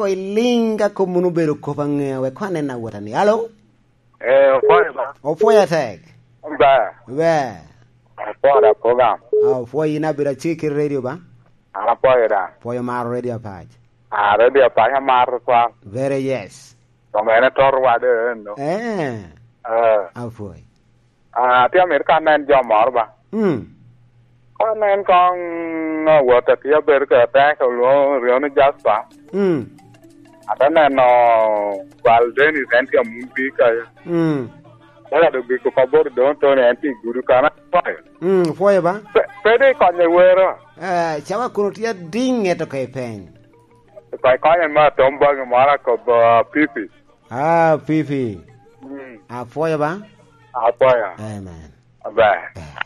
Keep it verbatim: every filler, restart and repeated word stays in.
Iliŋ ka kop munu obedo kop aŋea, wek koŋ anen awota ni. Alo? Eh, opwoyo ba? Opwoyo atek. Ba? Ba? Opwoyo da program. Ah, opwoyo in abedo acik kit radio ba? An apwoyo da. Pwoyo maro radio apac. Ah, radio apac amaro twal. Very yes. Kong en etor wade eno. Eh. Eh. Apwoyo. Ah, atye amito ka anen jo moro ba. Mm. Ka anen kong awot atye abedo kede atek olwoŋo ryo ni Jasper. Mm. Ate neno Val Dennis en tye amun pi kaya. Mm. Ate neno Giko Pabor Don Tony en tye i gudu kan apwoyo. Mm, pwoyo ba? Pe, pe de konye wero. Eh, cawa kono tye adiŋ eto ka ipeny. Kony konye ma tom bagi moro akobo, ah, pipi. Ah, pipi. Mm. Apwoyo ba? Apwoyo. Amen. Aber. Eh.